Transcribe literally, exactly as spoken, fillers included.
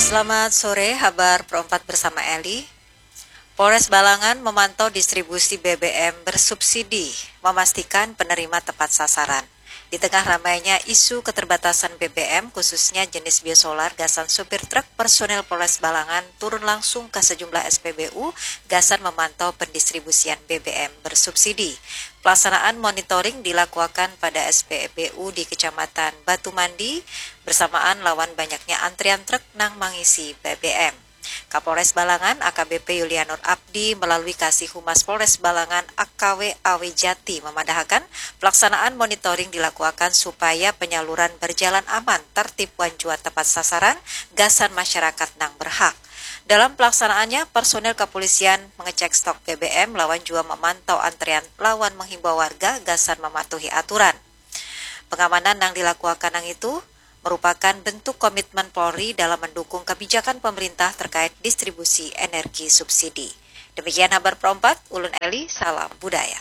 Selamat sore, habar perempat bersama Eli. Polres Balangan memantau distribusi B B M bersubsidi, memastikan penerima tepat sasaran. Di tengah ramainya isu keterbatasan B B M, khususnya jenis biosolar, gasan supir truk, personil Polres Balangan turun langsung ke sejumlah S P B U gasan memantau pendistribusian B B M bersubsidi. Pelaksanaan monitoring dilakukan pada S P B U di Kecamatan Batu Mandi bersamaan lawan banyaknya antrian truk nang mangisi B B M. Kapolres Balangan A K B P Yulianur Abdi melalui Kasih Humas Polres Balangan A K W Awi Jati memadahakan pelaksanaan monitoring dilakukan supaya penyaluran berjalan aman, tertib wan jua tepat sasaran gasan masyarakat nang berhak. Dalam pelaksanaannya, personil kepolisian mengecek stok B B M lawan jua memantau antrean lawan menghimbau warga gasan mematuhi aturan. Pengamanan yang dilakukan nang itu merupakan bentuk komitmen Polri dalam mendukung kebijakan pemerintah terkait distribusi energi subsidi. Demikian habar perempat, ulun Eli, salam budaya.